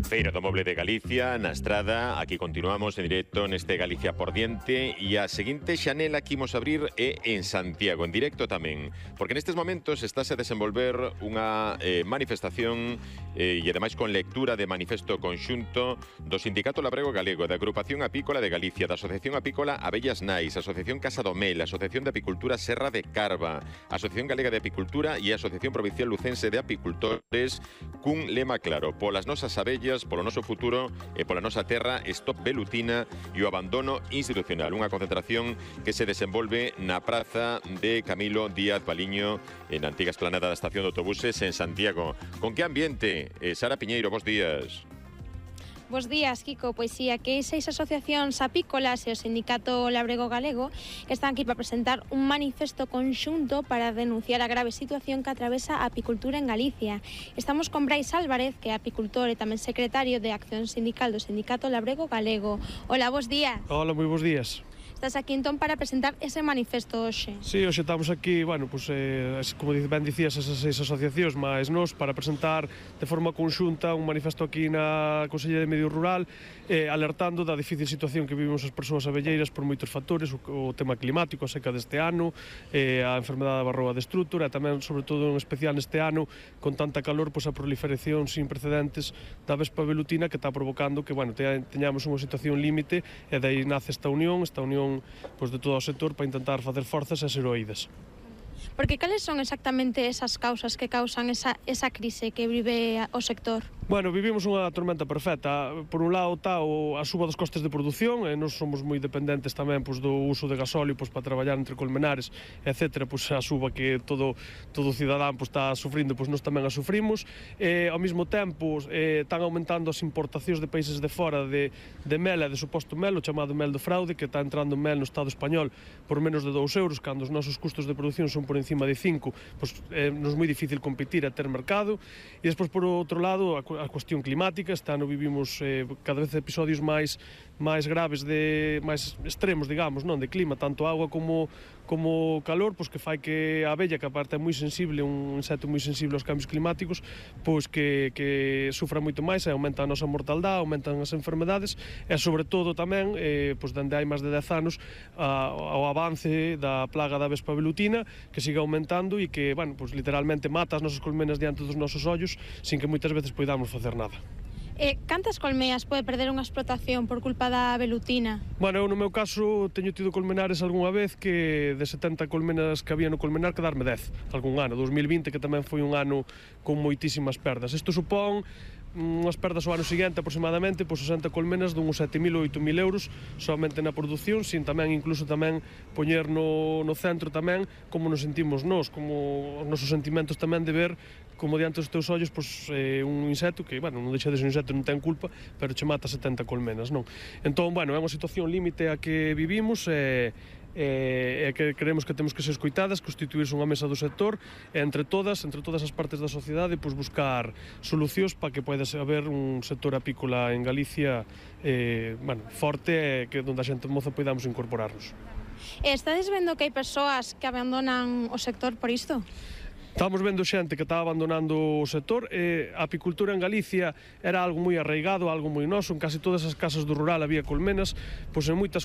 Feira do Moble de Galicia, na Estrada. Aquí continuamos en directo neste Galicia por diante. E a seguinte xanela que imos abrir é en Santiago, en directo tamén. Porque nestes momentos estáse a desenvolver unha manifestación e ademais con lectura de manifesto conxunto do Sindicato Labrego Galego, da Agrupación Apícola de Galicia, da Asociación Apícola Abellas Nais, Asociación Casa do Mel, Asociación de Apicultura Serra de Carva, Asociación Galega de Apicultura e Asociación Provincial Lucense de Apicultores, cun lema claro: polas nosas abellas, polo noso futuro e pola nosa terra, stop velutina e o abandono institucional. Unha concentración que se desenvolve na praza de Camilo Díaz Baliño, na antiga esplanada da estación de autobuses en Santiago. Con que ambiente? Sara Piñeiro, bos días. Bos días, Kiko. Pois sí, aquí 6 asociacións apícolas e o Sindicato Labrego Galego están aquí para presentar un manifesto conxunto para denunciar a grave situación que atravesa a apicultura en Galicia. Estamos con Brais Álvarez, que é apicultor e tamén secretario de Acción Sindical do Sindicato Labrego Galego. Hola, bos días. Hola, moi bos días. Estás aquí entón para presentar ese manifesto hoxe. Sí, hoxe estamos aquí, bueno, pues, como ben dicías, esas 6 asociacións máis nós para presentar de forma conxunta un manifesto aquí na Consellería de Medio Rural, alertando da difícil situación que vivimos as persoas abelleiras por moitos factores, o tema climático, a seca deste ano, a enfermedade da varroa destrutora, e tamén, sobre todo, en especial neste ano, con tanta calor, pues, a proliferación sin precedentes da vespa velutina que está provocando que, bueno, teñamos unha situación límite, e dai nace esta unión pues, de todo o sector para intentar facer forzas e ser oídas. Porque cales son exactamente esas causas que causan esa crise que vive o sector? Bueno, vivimos unha tormenta perfecta. Por un lado está a suba dos costes de produción, e nós somos moi dependentes tamén, pues, do uso de gasóleo, pues, para traballar entre colmenares, etc. Pues, a suba que todo cidadán, pues, está sufrindo, pues, nós tamén a sufrimos. Ao mesmo tempo están aumentando as importacións de países de fora de mel e de suposto mel, o chamado mel de fraude, que está entrando mel no Estado español por menos de 2 euros, cando os nosos custos de produción son por encima de 5, pues, nos é moi difícil competir e ter mercado. E despois, por outro lado, a cuestión climática. Este ano vivimos cada vez episodios máis graves, máis extremos, digamos, non, de clima, tanto agua como calor, pois que fai que a abella, que aparte é moi sensible, un insecto moi sensible aos cambios climáticos, pois que sufra moito máis e aumenta a nosa mortaldade, aumentan as enfermedades e, sobre todo, tamén, pois dende hai máis de 10 anos, ao avance da plaga da vespa velutina, que sigue aumentando e que, bueno, pois literalmente mata as nosas colmenas diante dos nosos ollos, sin que moitas veces poidamos facer nada. Cantas colmeas pode perder unha explotación por culpa da velutina? Bueno, eu no meu caso teño tido colmenares algunha vez que de 70 colmenas que había no colmenar quedarme 10 algún ano, 2020, que tamén foi un ano con moitísimas perdas. Isto supón unhas perdas ao ano seguinte aproximadamente, pois 60 colmenas dunhos 7.000 ou 8.000 euros somente na produción, sin tamén incluso tamén poñer no centro tamén como nos sentimos nós, como os nosos sentimentos tamén de ver como diante dos teus ollos, pois, un insecto que, bueno, non deixa de ser un insecto, non ten culpa, pero che mata 70 colmenas, non? Entón, bueno, é unha situación límite a que vivimos e que creemos que temos que ser escoitadas, constituirse unha mesa do sector e entre todas as partes da sociedade, pois, buscar solucións para que poida haber un sector apícola en Galicia bueno, forte, que onde a xente moza poidamos incorporarnos. Estades vendo que hai persoas que abandonan o sector por isto? Estamos vendo xente que está abandonando o sector. A apicultura en Galicia era algo moi arraigado, algo moi noso. En casi todas as casas do rural había colmenas, pois en moitas colmenas